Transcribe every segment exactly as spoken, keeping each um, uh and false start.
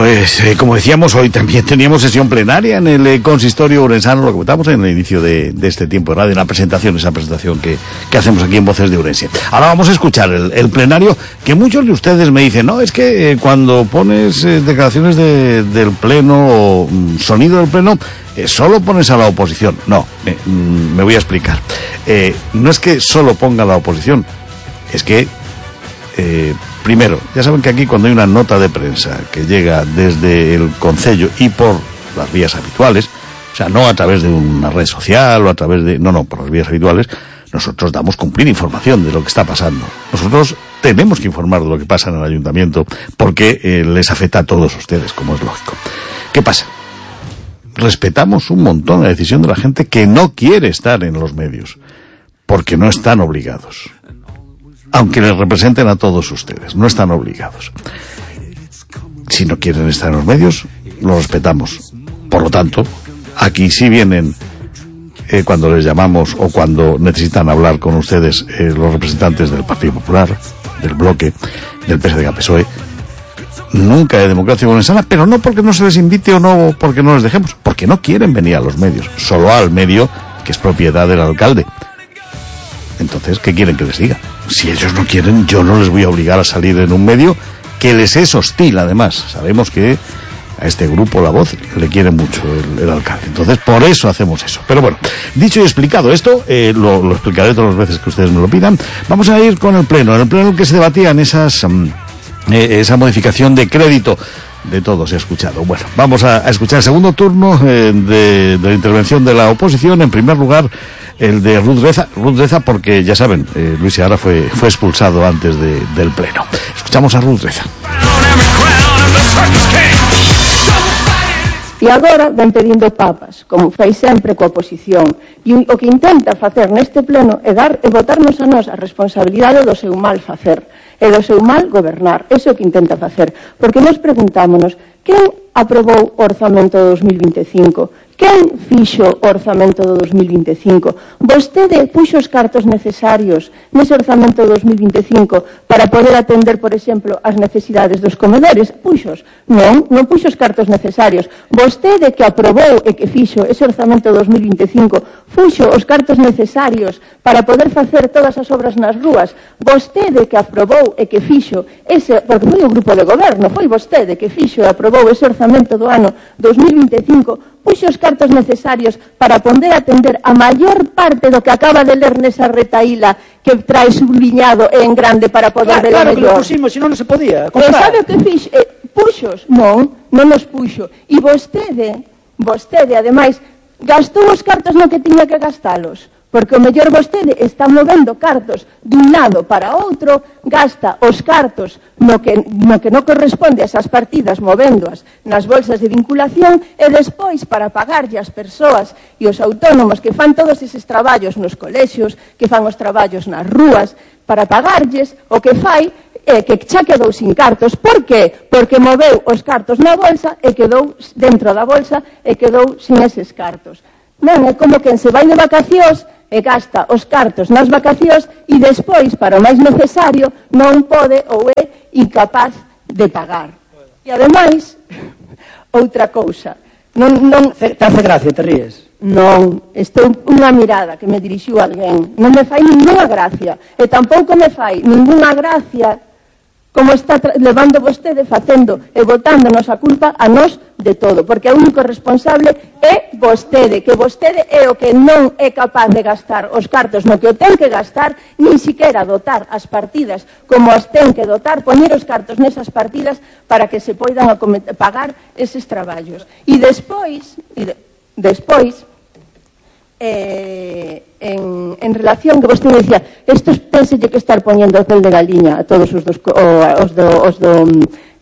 pues eh, como decíamos, hoy también teníamos sesión plenaria en el eh, consistorio urensano, lo comentamos en el inicio de, de este tiempo de radio, en la presentación, esa presentación que, que hacemos aquí en Voces de Urense. Ahora vamos a escuchar el, el plenario, que muchos de ustedes me dicen, no, es que eh, cuando pones eh, declaraciones de, del pleno o mm, sonido del pleno, eh, solo pones a la oposición. No, eh, mm, me voy a explicar. Eh, no es que solo ponga a la oposición, es que... Eh, Primero, ya saben que aquí cuando hay una nota de prensa que llega desde el Concello y por las vías habituales, o sea, no a través de una red social o a través de... No, no, por las vías habituales, nosotros damos cumplir información de lo que está pasando. Nosotros tenemos que informar de lo que pasa en el ayuntamiento porque eh, les afecta a todos ustedes, como es lógico. ¿Qué pasa? Respetamos un montón la decisión de la gente que no quiere estar en los medios, porque no están obligados. Aunque les representen a todos ustedes, no están obligados. Si no quieren estar en los medios, lo respetamos. Por lo tanto, aquí sí vienen, eh, cuando les llamamos o cuando necesitan hablar con ustedes eh, los representantes del Partido Popular, del Bloque, del P S D G P S O E, nunca de Democracia Urensana, pero no porque no se les invite o no porque no les dejemos, porque no quieren venir a los medios, solo al medio que es propiedad del alcalde. Entonces, ¿qué quieren que les diga? Si ellos no quieren, yo no les voy a obligar a salir en un medio que les es hostil, además. Sabemos que a este grupo La Voz le quiere mucho el, el alcalde. Entonces, por eso hacemos eso. Pero bueno, dicho y explicado esto, eh, lo, lo explicaré todas las veces que ustedes me lo pidan. Vamos a ir con el pleno. En el pleno en el que se debatían esas, um, eh, esa modificación de crédito. De todo se ha escuchado. Bueno, vamos a, a escuchar el segundo turno eh, de, de la intervención de la oposición. En primer lugar, el de Ruth Reza, Ruth Reza porque ya saben, eh, Luis Seara fue, fue expulsado antes de, del pleno. Escuchamos a Ruth Reza. E agora ven pedindo papas, como fai sempre coa oposición. E o que intenta facer neste pleno é dar e botarnos a nós a responsabilidade do seu mal facer e do seu mal gobernar. Eso é o que intenta facer. Porque nós preguntámonos, quen aprobou o orzamento do dos mil vinte e cinco? Quen fixo o orzamento do dos mil vinte e cinco? Vostede puxo os cartos necesarios nese orzamento do dos mil vinte e cinco para poder atender, por exemplo, as necesidades dos comedores? Puxos? Non, non puxo os cartos necesarios. Vostede que aprobou e que fixo ese orzamento do dos mil vinte e cinco puxo os cartos necesarios para poder facer todas as obras nas rúas. Vostede que aprobou e que fixo ese, porque foi o grupo de goberno, foi vostede que fixo e aprobou ese orzamento do ano dos mil vinte e cinco, puxo os cartos necesarios para poder atender a maior parte do que acaba de ler nesa retaíla que trae subliñado e en grande para poder claro, ver claro, o mellor. Claro, que lo pusimos, se non, non se podía E comprar. sabe o que fixo? Eh, puxos? Non, non nos puxo. E vostede, vostede, ademais, gastou os cartos no que tiña que gastalos. Porque o mellor vostede está movendo cartos dun lado para outro, gasta os cartos no que, no que non corresponde a esas partidas movéndoas nas bolsas de vinculación e despois para pagarlle as persoas e os autónomos que fan todos eses traballos nos colexios, que fan os traballos nas rúas, para pagarlles o que fai é que xa quedou sin cartos. Por qué? Porque moveu os cartos na bolsa e quedou dentro da bolsa e quedou sin eses cartos. Non é como quen se vai de vacacións e gasta os cartos nas vacacións e despois, para o máis necesario, non pode ou é incapaz de pagar. E ademais, outra cousa, non... non Te hace gracia, te ríes? Non, estou unha mirada que me dirixiu alguén. Non me fai ninguna gracia, e tampouco me fai ninguna gracia como está levando vostede facendo e botándonos a culpa a nós de todo, porque o único responsable é vostede, que vostede é o que non é capaz de gastar os cartos no que o ten que gastar, nin siquiera dotar as partidas como as ten que dotar, poñer os cartos nesas partidas para que se poidan pagar eses traballos. E despois, e de, despois, Eh, en, en relación que vostede dicía, estos penselle que estar poñendo o pel de galiña a todos os dos, o, os do, os do,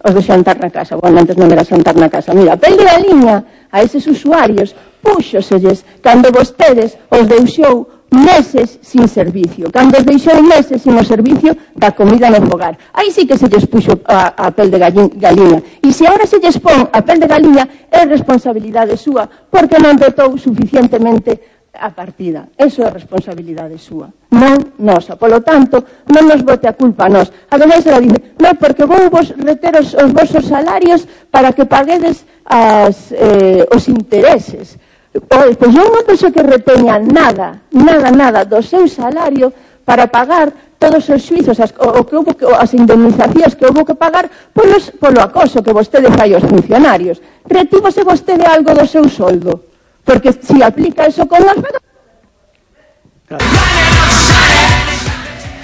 os do xantar na casa. Bueno, antes non era xantar na casa. Mira, pel de galiña a eses usuarios púxoselles cando vostedes os deixou meses sin servicio, cando os deixou meses sin o servicio da comida no fogar. Aí sí que se lles puxo a, a pel de galiña. E se agora se lles pon a pel de galiña, é responsabilidade súa, porque non dotou suficientemente a partida. Eso é responsabilidade súa, non nosa. Polo tanto, non nos bote a culpa a nós. Ademais, ela dice, non, porque vou vos reter os, os vosos salarios para que paguedes as, eh, os intereses. Pois, pois eu non penso que reteña nada, nada, nada do seu salario para pagar todos os xuizos, as, o, o que houve, as indemnizacións que houve que pagar polos, polo acoso que vostede fai aos funcionarios. Retívose vostede algo do seu soldo. Porque si aplica eso con las...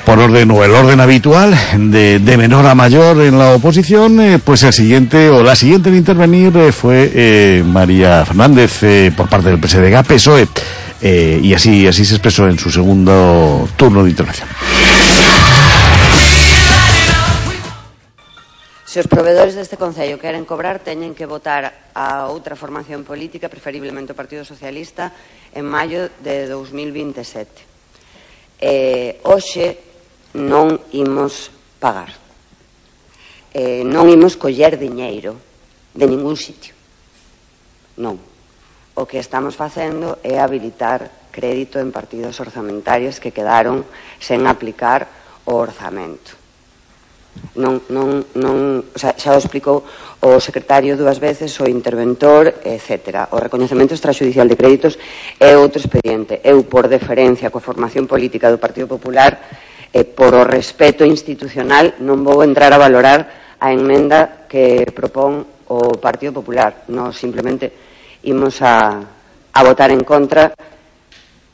Por orden o el orden habitual, de, de menor a mayor en la oposición, eh, pues el siguiente o la siguiente en intervenir eh, fue eh, María Fernández eh, por parte del P S D G, P S O E, eh, y así, así se expresó en su segundo turno de intervención. Se os provedores deste Concello queren cobrar, teñen que votar a outra formación política, preferiblemente o Partido Socialista, en maio de dos mil vinte e sete. Eh, hoxe non imos pagar. Eh, non imos coller diñeiro de ningún sitio. Non. O que estamos facendo é habilitar crédito en partidos orzamentarios que quedaron sen aplicar o orzamento. Non, non, non, o sea, xa o explicou o secretario dúas veces, o interventor, etcétera. O recoñecemento extrajudicial de créditos é outro expediente. Eu, por deferencia coa formación política do Partido Popular, e por o respeto institucional, non vou entrar a valorar a enmenda que propón o Partido Popular. Non, simplemente imos a, a votar en contra.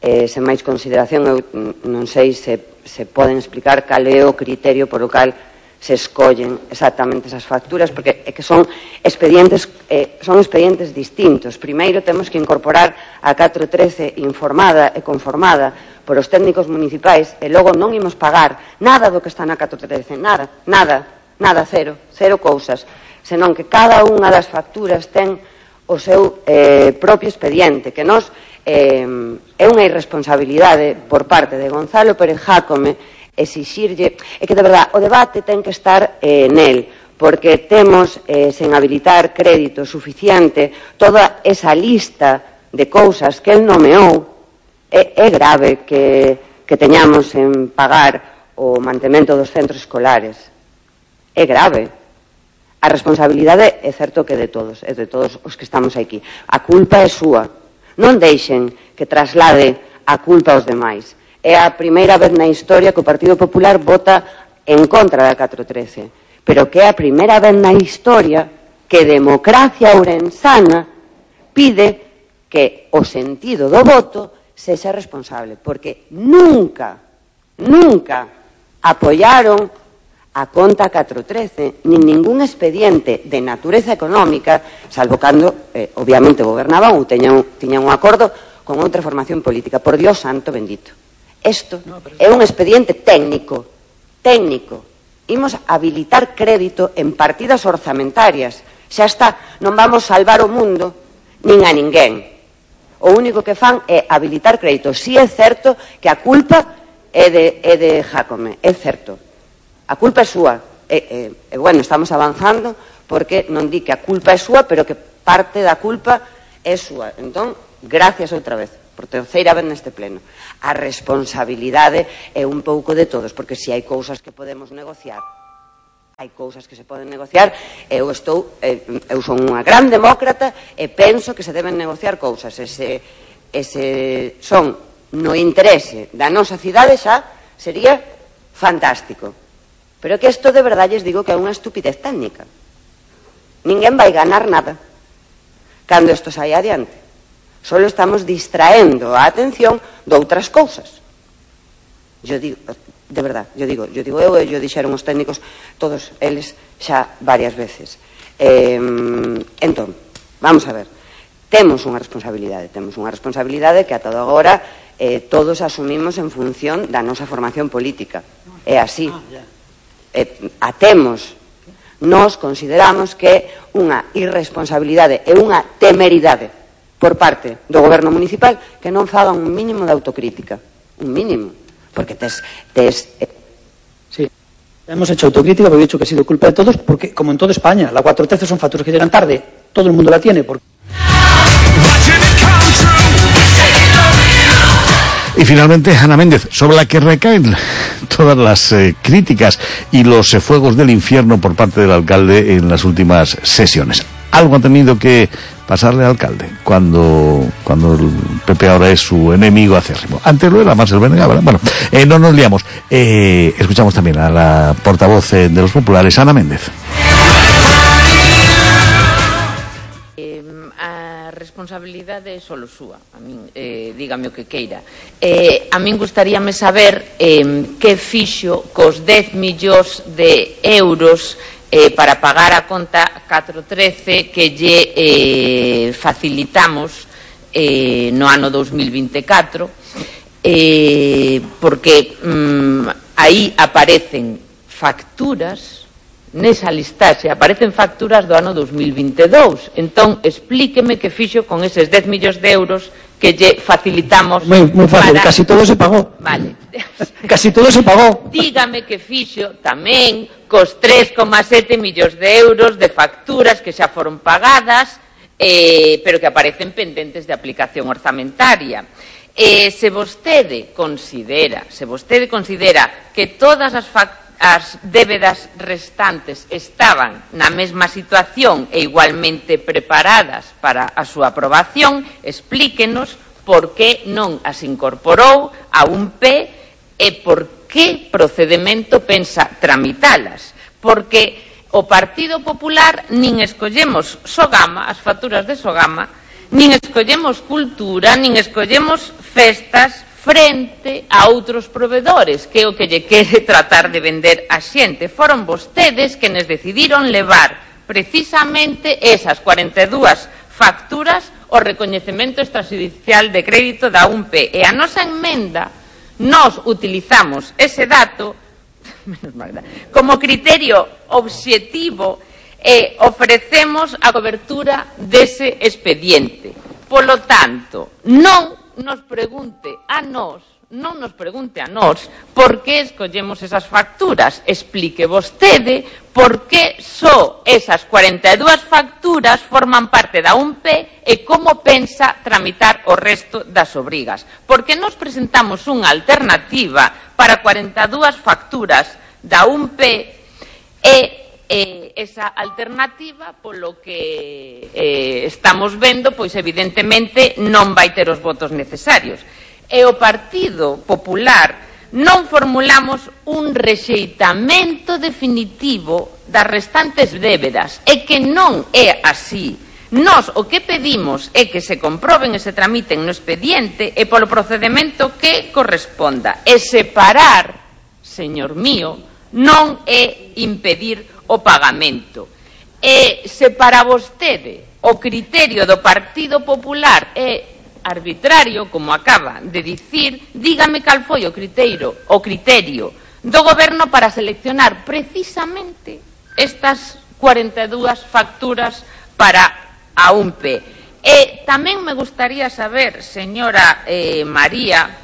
Eh, sen máis consideración, eu non sei se, se poden explicar cal é o criterio por o cal se escollen exactamente esas facturas, porque é que son expedientes eh, son expedientes distintos. Primeiro temos que incorporar a catro trece informada e conformada por os técnicos municipais e logo non imos pagar nada do que está na catro trece, nada, nada, nada, cero, cero cousas, senón que cada unha das facturas ten o seu eh, propio expediente, que nos eh, é unha irresponsabilidade por parte de Gonzalo Pérez Jácome exixirlle, é que de verdade o debate ten que estar eh, nel, porque temos eh, sen habilitar crédito suficiente toda esa lista de cousas que el nomeou. É, é grave que, que teñamos en pagar o mantemento dos centros escolares. É grave. A responsabilidade é certo que de todos, é de todos os que estamos aquí. A culpa é súa. Non deixen que traslade a culpa aos demais. É a primeira vez na historia que o Partido Popular vota en contra da catro trece, pero que é a primeira vez na historia que Democracia Ourensana pide que o sentido do voto sexa responsable, porque nunca, nunca apoiaron a conta catro trece, nin ningún expediente de natureza económica, salvo cando, eh, obviamente, gobernaban ou tiñan, tiñan un acordo con outra formación política. Por Dios santo bendito. Isto é un expediente técnico, técnico. Imos habilitar crédito en partidas orzamentarias. Xa está, non vamos salvar o mundo nin a ninguén. O único que fan é habilitar crédito. Si é certo que a culpa é de, é de Jácome, é certo. A culpa é súa. E, e, e, bueno, estamos avanzando porque non di que a culpa é súa, pero que parte da culpa é súa. Entón, gracias outra vez, por terceira vez neste pleno. A responsabilidade é un pouco de todos, porque se hai cousas que podemos negociar, hai cousas que se poden negociar, eu estou, eu son unha gran demócrata e penso que se deben negociar cousas, e se, e se son no interese da nosa cidade xa sería fantástico. Pero que isto de verdade lles digo que é unha estupidez técnica. Ninguén vai ganar nada cando isto sai adiante. Solo estamos distraendo a atención de outras cousas. Yo digo, de verdad, yo digo, yo digo eu e yo dixeron os técnicos, todos eles xa varias veces. Eh, entón, vamos a ver, temos unha responsabilidade, temos unha responsabilidade que ata agora eh, todos asumimos en función da nosa formación política. É así. Eh, a temos. Nos consideramos que é unha irresponsabilidade e unha temeridade por parte do goberno municipal que non fagan un mínimo de autocrítica, un mínimo, porque tes... tes eh... Sí, hemos hecho autocrítica porque he dicho que ha sido culpa de todos, porque como en toda España, la cuatro trece son facturas que llegan tarde, todo el mundo la tiene, porque... Y finalmente, Ana Méndez, sobre la que recaen todas las eh, críticas y los eh, fuegos del infierno por parte del alcalde en las últimas sesiones. Algo ha tenido que pasarle al alcalde cuando cuando el P P ahora es su enemigo acérrimo. Antes lo era más el Benega, ¿verdad? Bueno, eh, no nos liamos. Eh, escuchamos también a la portavoz eh, de los populares, Ana Méndez. Responsabilidade solo súa, a min, eh, dígame o que queira. Eh, a min gustaríame saber eh, que fixo cos dez millóns de euros eh, para pagar a conta catro trece que lle eh, facilitamos eh, no ano dos mil vinte e catro, eh, porque mm, aí aparecen facturas. Nesa listaxe aparecen facturas do ano dos mil vinte e dous. Entón, explíqueme que fixo con eses dez millóns de euros que lle facilitamos. Moi, moi fácil, para... casi todo se pagou. Vale. Casi todo se pagou. Dígame que fixo tamén cos tres coma sete millóns de euros de facturas que xa foron pagadas, eh, pero que aparecen pendentes de aplicación orzamentaria. Eh, se vostede considera, se vostede considera que todas as facturas as débedas restantes estaban na mesma situación e igualmente preparadas para a súa aprobación, explíquenos por que non as incorporou a un P e por que procedemento pensa tramitalas. Porque o Partido Popular nin escollemos Sogama, as facturas de Sogama, nin escollemos cultura, nin escollemos festas frente a outros provedores, que é o que lle quere tratar de vender a xente. Foron vostedes que nos decidiron levar precisamente esas cuarenta e dúas facturas ao recoñecemento extrajudicial de crédito da U N P. E a nosa enmenda, nos utilizamos ese dato como criterio obxectivo e ofrecemos a cobertura dese expediente. Polo tanto, non nos pregunte a nós, non nos pregunte a nós por que escollemos esas facturas. Explique vostede por que só esas cuarenta e dúas facturas forman parte da U N P e como pensa tramitar o resto das obrigas. Porque nos presentamos unha alternativa para cuarenta e dúas facturas da U N P e Eh, esa alternativa, polo que eh, estamos vendo, pois evidentemente non vai ter os votos necesarios. E o Partido Popular non formulamos un rexeitamento definitivo das restantes débedas, e que non é así. Nós o que pedimos é que se comproben e se tramiten no expediente e polo procedimento que corresponda. E separar, señor mío, non é impedir o pagamento. E se para vostede o criterio do Partido Popular é arbitrario, como acaba de dicir, dígame cal foi o criterio, o criterio do Goberno para seleccionar precisamente estas cuarenta e dúas facturas para a U N P. E tamén me gustaría saber, señora eh, María,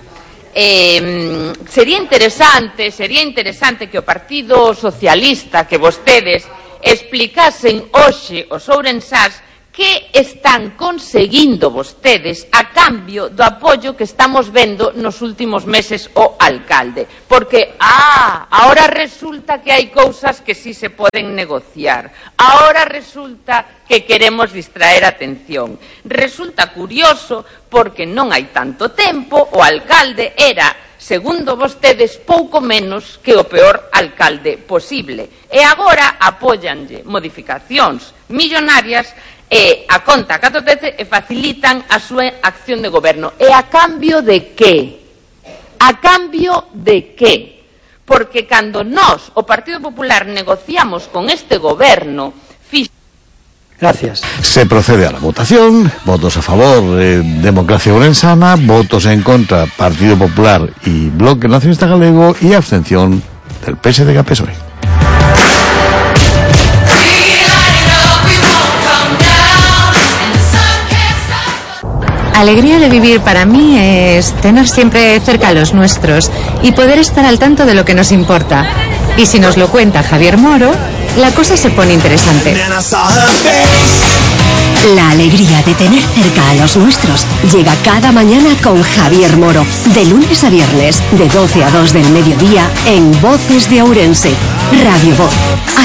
Eh, sería interesante, sería interesante que o Partido Socialista, que vostedes explicasen hoxe os ourensás que están conseguindo vostedes a cambio do apoio que estamos vendo nos últimos meses ao alcalde. Porque, ah, ahora resulta que hai cousas que sí se poden negociar. Ahora resulta que queremos distraer a atención. Resulta curioso porque non hai tanto tempo, o alcalde era, segundo vostedes, pouco menos que o peor alcalde posible. E agora apóyanlle modificacións millonarias e a conta catro trece e facilitan a súa acción de goberno. E a cambio de que? A cambio de que? Porque cando nós, o Partido Popular, negociamos con este goberno, fix... Gracias. Se procede a la votación. Votos a favor, eh, Democracia Ourensana. Votos en contra, Partido Popular y Bloque Nacionalista Galego. Y abstención del P S D G P S O E. Alegría de vivir para mí es tener siempre cerca a los nuestros y poder estar al tanto de lo que nos importa. Y si nos lo cuenta Javier Moro, la cosa se pone interesante. La alegría de tener cerca a los nuestros llega cada mañana con Javier Moro, de lunes a viernes, de doce a dos del mediodía, en Voces de Ourense, Radio Voz.